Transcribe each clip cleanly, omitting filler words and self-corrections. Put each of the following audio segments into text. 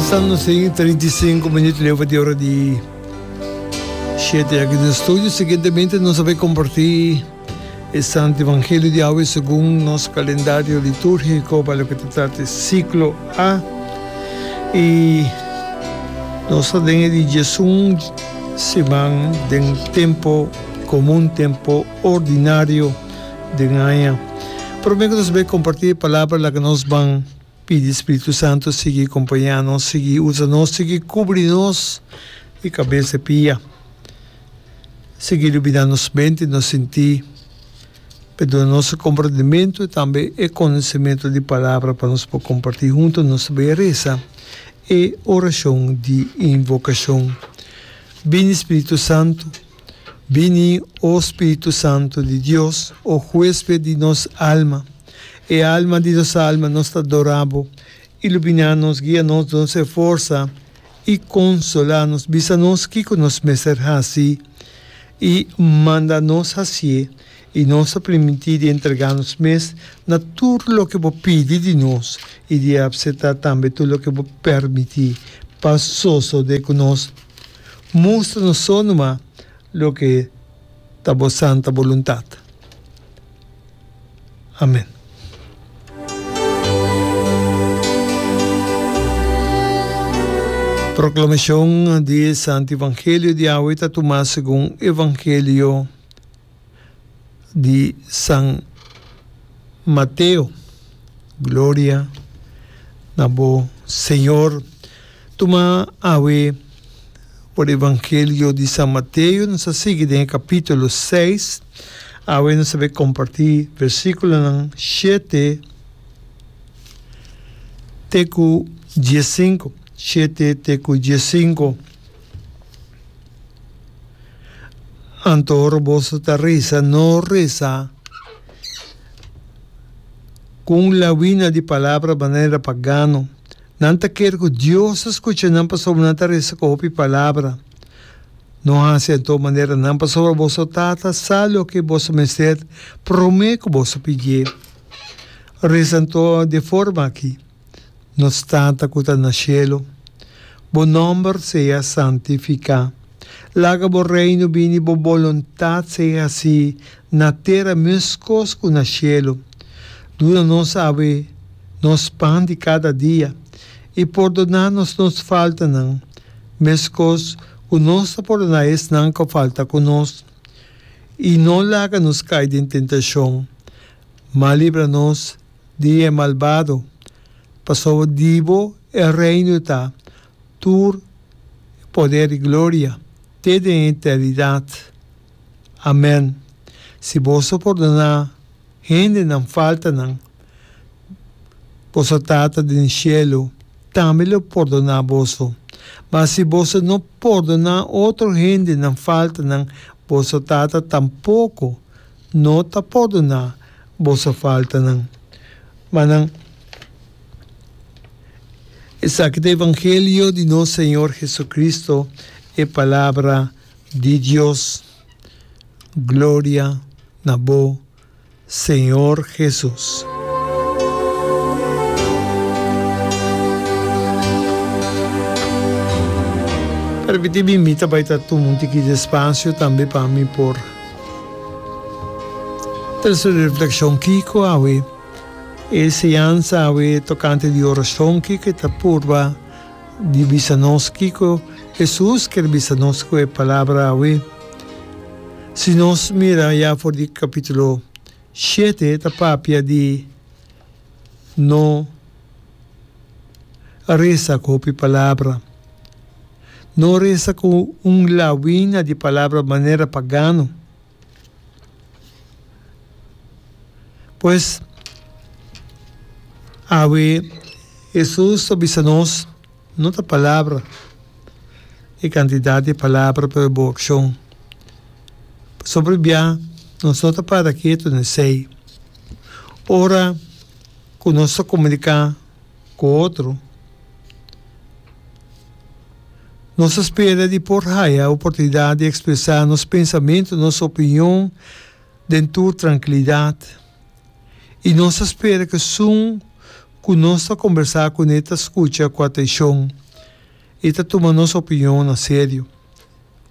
Pasando sin 35 minuut leu pa di ora di 7 aki den studio. Siguientemente nos a bay comparti e Santo Evangelio di awe segun nos calendario liturgico pa loke ta trata e ciclo A. Y nos ta den e di diesun siman den tempo comun, tempo ordinario den aña. Prome cu nos bay comparti e palabra laga nos ban Pidi Spiritu Santu sigui kompañá nos, sigui usa nos, sigui kubri nos di kabes te pia. Sigui iluminá nos mente i nos sintí, pa duna nos e komprendimentu i tambe e konosementu di Palabra pa nos por kompartí huntu. Nos ta bai resa e orashon di invokashon. Bini Spiritu Santu, bini, o Spiritu Santu di Dios, o huesped di nos alma. E alma di nos alma, nos ta adorá Bo. Iluminá nos, guia nos, duna nos e forsa i konsolá nos. Bisa nos kiko nos mester hasi i manda nos hasié, i nos ta primintí di entregá nos mes na tur loke Bo pidi di nos i di apseptá tambe tur loke Bo permití pa sosodé ku nos. Mustra nos so numa loke ta Bo santa boluntat. Amen. Proclamacion di e Santo Evangelio di awe ta tuma segun Evangelio di San Mateo. Gloria na bo Señor. Tuma awe por Evangelio di San Mateo, nos a sigui den e capítulo 6. Awe nos ta bay comparti versiculonan shete te cu diescinco. Shete te cu diescinco. Anto ora boso ta reza, no reza cu un lawina di palabra manera pagano. Nan ta kere ku Dios ta skucha nan pasobra nan ta resa ku hopi palabra. No hasi anto manera nan pasobra boso Tata sa loke boso mester promé ku boso pidié. Resa anto di e forma aki, Nos Tata ku ta na shelu, bo nòmber sea santifiká. Laga bo Reino bini, bo boluntat sea hasí na tera meskos ku na shelu. Duna nos awe nos pan di kada dia, i pordoná nos nos faltanan, meskos ku nos ta pordoná esnan ku a falta ku nos. I no laga nos kai den tentashon, ma libra nos di e malbado, pasobra di bo e reino ta, tur e poder i gloria, te den eternidat. Amèn. Si boso pordoná hende nan faltanan, boso Tata den shelu tambe lo pordoná boso. Ma si boso no pordoná otro hende nan faltanan, boso Tata tampoko no ta pordoná boso faltanan. Ma nan, Esaki ta evangelio di nos Señor Jesucristo, e palabra di Dios. Gloria na bo, Señor Jesus. Permiti mi, mi ta bai ta tuma un tiki di espacio tambe pa mi por trese un reflexion kiko awe e enseñansa awe tocante di oracion kiko e ta purba di bisa nos kiko Hesus kier bisa nos ku e palabra awe. Si nos mira ya for di kapítulo shete ta papia di no resa ku hopi palabra. No resa ku un lawina di palabra manera pagano. Pues, awe Hesus ta bisa nos, no ta palabra, e kantidat di palabra, pero bo akshon. Pasobra bia nos no ta para ketu na esei. Ora ku nos ta komuniká ku otro, Nos ta spera di por haya oportunidad di expresa nos pensamento, nos opinion den tur trankilidad. Y nos ta spera cu esun cu nos ta combersa cune ta scucha cu atencion. i ta tuma nos opinion na serio.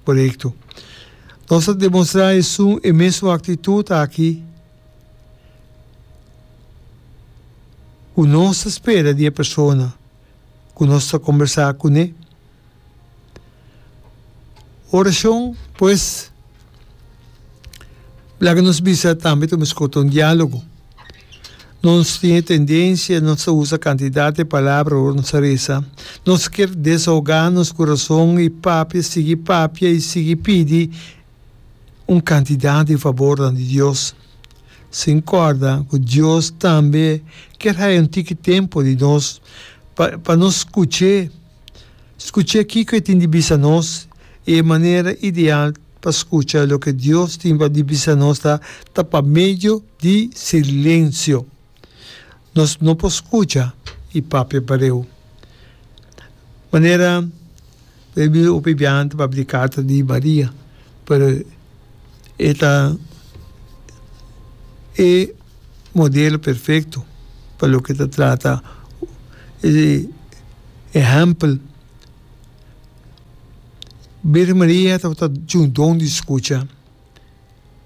Korekto. Nos ta demostrá esun e mesun aktitut aki ku nos ta spera di e persona ku nos ta kombersá kuné. Orashon, pues, laga nos bisa tambe ta meskos ta un diálogo. Nos tin e tendensia, nos ta usa kantidat di palabra ora nos ta resa. Nos kier desahogá nos kurason i papia, sigui papia i sigui pidi un kantidat di fabornan di Dios, sin kòrda ku Dios tambe kier haya un tiki tempu di nos pa pa nos skuch'é. Skuch'é kiko e tin di bisa nos i e manera ideal pa skucha loke Dios tin pa di bisa nos ta ta pa medio di silensio. Nos no por skucha i papia pareu. Manera Biblia hopi biaha ta papia di karta di Maria, pero e ta e modelo perfecto pa loke ta trata e ehempel. Birgen Maria tabata tin un don di scucha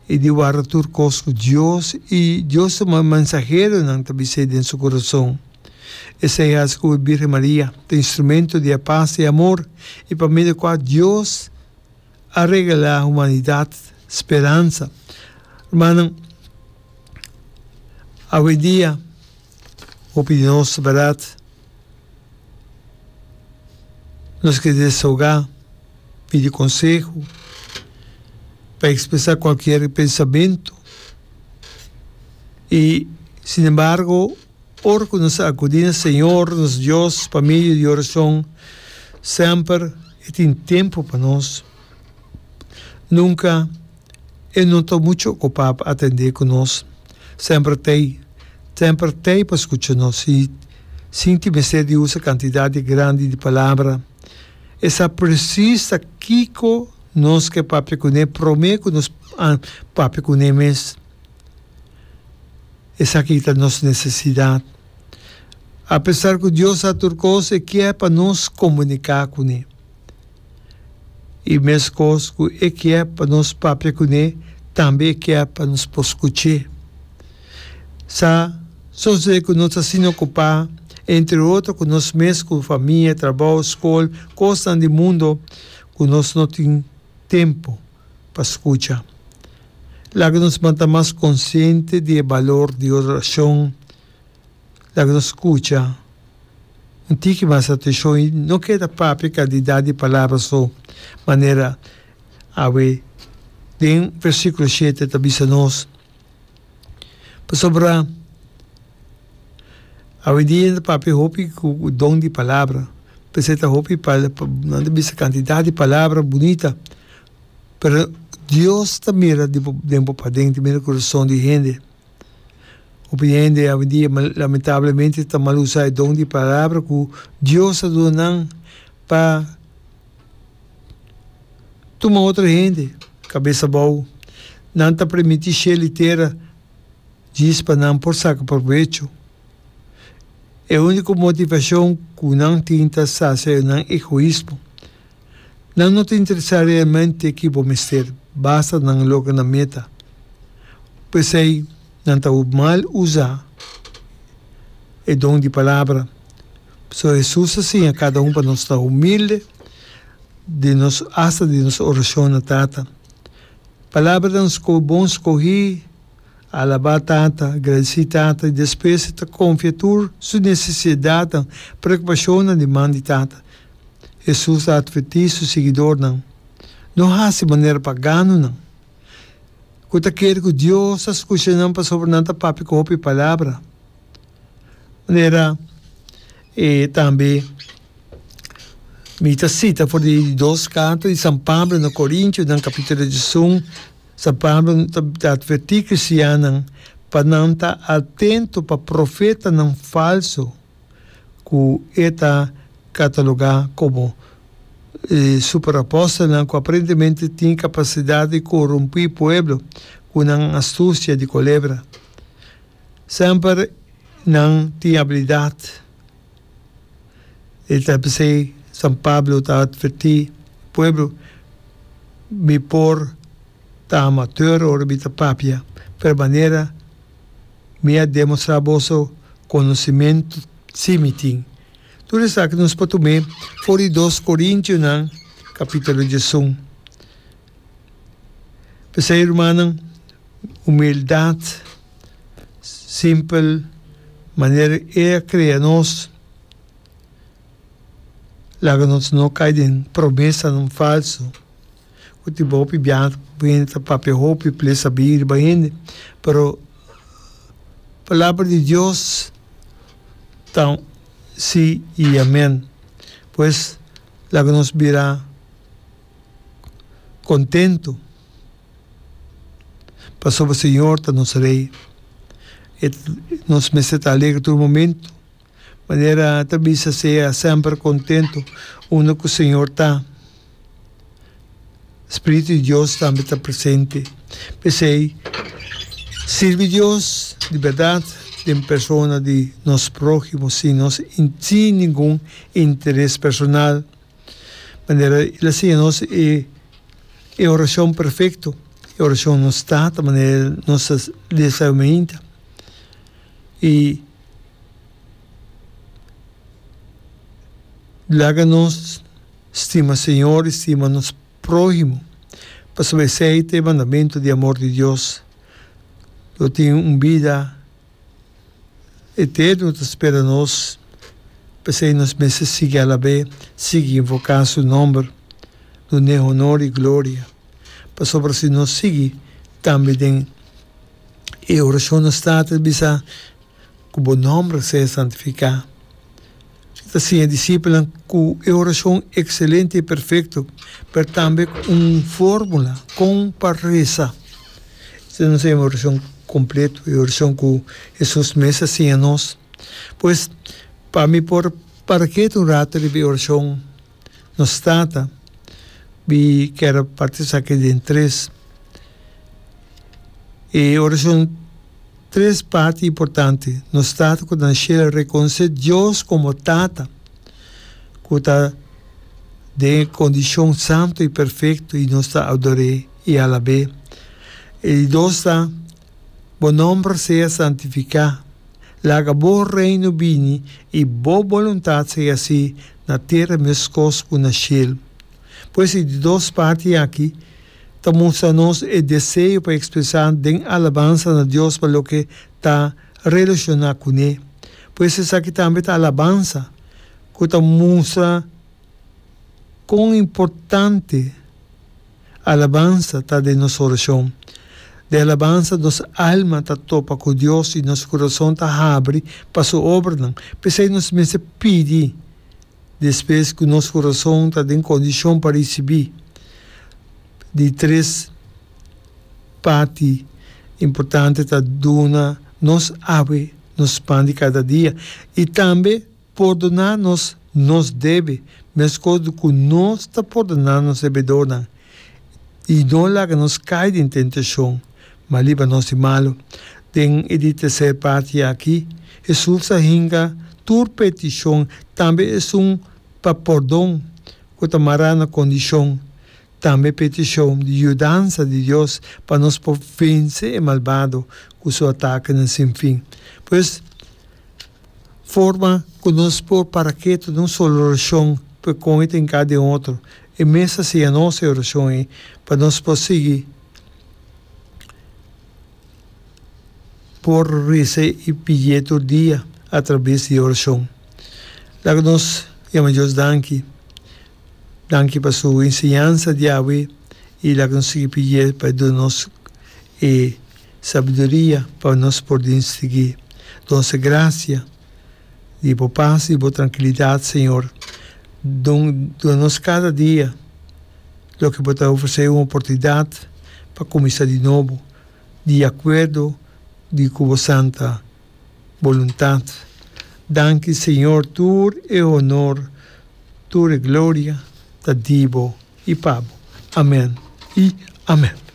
y di warda tur cos cu Dios y Dios su mensaheronan ta bis'é den su corazon. Esey haci cu Birgen Maria ta instrumento di e paz y amor y pa medio cua Dios a regalá humanidat speransa. Rumannan, awendia hopi di nos, bèrdat, nos ke desahogá, pidi konseho, pa ekspresá kualkier pensamentu i sinembargo ora ku nos akudí na Señor nos Dios pa medio di orashon semper E tin tempu pa nos. Nunka e no ta muchu okupá pa atendé ku nos. Semper t'ei, semper t'ei pa skucha nos i sin tin mester di usa kantidat di grandi di palabra. E sa presis ta kiko nos ke papia kuné promé ku nos papia kuné mes. Esaki ta nos nesesidat. Apesar ku Dios sa tur kos, e kier pa nos komuniká kuné. I meskos ku e kier pa nos papia kuné, tambe e kier pa nos por skuch'é. Sa sosodé ku nos ta asina okupá, entre otro ku nos mes, ku famia, trabou, skol, kosnan di mundu, ku nos no tin tempu pa skucha. Laga nos manta mas konsiente di e balor di orashon. Laga nos skucha un tiki mas atenshon i no keda papia kantidat di palabra so, manera awe den versíkulo shete ta bisa nos. Pasobra awendia nan ta papia hopi ku don di palabra, p'esei ta hopi nan ta bisa kantidat di palabra bunita, pero Dios ta mira den bo paden, ta mira kurason di hende. Hopi hende awendia lamentablemente ta mal usa e don di palabra ku Dios a duna nan pa tuma otro hende kabes abou. Nan ta permití shel i tera djis pa nan por saka probecho. E úniko motivashon ku nan tin ta sasia nan egoismo. Nan no ta interesá realmente ki bo mester, basta nan logra nan meta. P'esei nan ta mal usa e don di palabra. Pasobra Hesus a siña kada un pa nos ta humilde den nos, asta den nos orashon na Tata. Palabranan bon skohí, alabá Tata, gradisí Tata i despues e ta konfia tur su nesesidatnan, preokupashonnan di man di Tata. Hesus a atvertí su siguidornan, No hasi manera paganonan, ku ta kere ku Dios ta skucha nan pasobra nan ta papia ku hopi palabra. Manera e tambe mi ta sita for di di dos karta di San Pablo na Korintionan kapítulo diesun, San Pablo ta atvertí kristiannan pa nan ta atento pa profetanan falso. ku e ta katalogá komo e superapòstelnan ku aparentemente tin kapasidat di korumpí pueblo ku nan astusia di kolebra. Semper nan tin abilidat. E ta p'esei. San Pablo ta atvertí pueblo, Mi por ta amateur ora mi ta papia, pero manera mi a demostrá boso konosimentu sí mi tin. Tur esaki nos por tum'é for di Dos Korintionan kapítulo diesun. P'esei, rumannan, humildat simpel manera E a krea nos, laga nos no kai den promesanan falsu ku tin hopi biaha ku hende ta papia hopi p'e sabí riba hende, pero Palabra di Dios ta sí i amèn. Pues, laga nos bira kontentu pasobra Señor ta nos Rei. E nos mester ta alegre tur momentu. Manera ta bisa sea semper kontentu unda ku Señor ta. Spiritu di Dios tambe ta presente. P'esei, sirbi Dios di bèrdat den persona di nos próhimo sin nos sin ningun interes personal. Manera el a siña nos e e orashon perfekto, e orashon Nos Tata, manera nos ta lesa mainta. I laga nos stima Señor i stima nos próhimo, pasobra esei ta e mandamentu di amor di Dios. Lo tin un bida eterno ta spera nos, p'esei nos mester sigui alab'é, sigui invoká su nòmber, dun'é honor i gloria, pasobra si nos sigui tambe den e orashon nos Tata ta bisa ku bo nòmber sea santifiká. E ta siña disipelnan ku e orashon ekselente i perfekto, pero tambe ku un fórmula kon pa resa. Esei nos ta yama orashon kompleto, e orashon ku Hesus mes a siña nos. Pues, pa mi por para ketu un rato riba e orashon Nos Tata, mi kier a parti esaki den tres. E orashon tres parti importante. Nos Tata ku ta na shelu rekonosé Dios komo Tata ku ta den e kondishon santu i perfekto i nos ta ador'é i alab'é. E di dos ta, Bo nòmber sea santifiká. Laga bo Reino bini i bo boluntat sea hasí na tera meskos ku na shelu. Pues e di dos parti aki ta mustra nos e deseo pa ekspresá den alabansa na Dios pa loke ta relashoná kuné. Pues esaki tambe ta alabansa ku ta mustra kon importante alabansa ta den nos orashon. Den alabansa nos alma ta topa ku Dios i nos kurason ta habri pa su obranan. P'esei nos mester pidi. Despues ku nos kurason ta den kondishon pa risibí di tres parti importante ta duna nos awe nos pan di kada dia i tambe pordoná nos nos debe meskos ku nos ta pordoná nos debedornan i no laga nos kai den tentashon ma libra nos di malu. Den e di terser parti aki, Hesus a hinka tur petishon, tambe esun pa pordon ku ta mará na kondishon, tambe petishon di yudansa di Dios pa nos por vense e malbado ku su atakenan sin fin. Pues, forma ku nos por para ketu den un solo orashon pa kon e ta hinká den otro, e mes a siña nos e orashon ei pa nos por sigui. Por resa i pidié tur dia atrabes di orashon. Laga nos yama Dios danki. Danki pa su enseñansa di awe i laga nos sigui pidié pa e duna nos e sabiduria pa nos por distinguí. Duna nos e grasia di bo pas i bo trankilidat, Señor. Duna nos kada dia. Loke bo ta ofresé un oportunidat pa kuminsá di nobo di akuerdo di ku bo santa boluntat. Danki Señor tur e honor, tur e gloria ta di bo i pa bo. Amen i amen.